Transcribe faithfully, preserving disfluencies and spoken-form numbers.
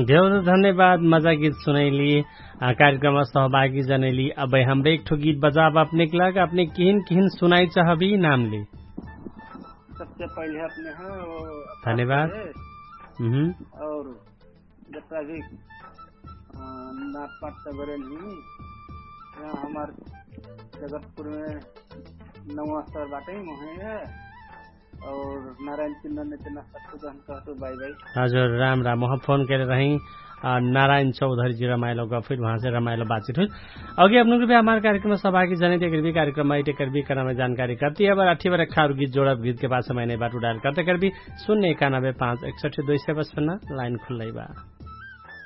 देउर धन्यवाद मजा गीत सुनैली। कार्यक्रममा सहभागी जनैली। अबै हमरे एकठो गीत बजाब अपनेक लाग अपने किहिन किहिन सुनाइ चहबी नाम ले। सबसे पहिले अपने ह धन्यवाद। और जत्रा भी नाचपाट त गरे नहीं। यहाँ हमार जगतपुर में नौवा स्तर बाटे ही मोहे है। और नारायण चिन्ह ने तेना सबको जहन कहतो बाई बाई। हजुर राम राम वहाँ फोन करे रही। नारायण चौधरी जी रमाइलो गफिर वहाँ से रमाइलो बातचित हुई। अगे अपने रुपया हमार कार्यक्रम सभागी जने ते करबी कार्यक्रम आइटे करबी कनामे जानकारी करती है अबर अठी बरे खारु गीत जोड़ब गीत के बाद समय नहीं बाटू डायल करते करबी। सुन्ने एकानबे पाँच एकसठी दुई सय बस सुन्ना लाइन खुल्लै बा।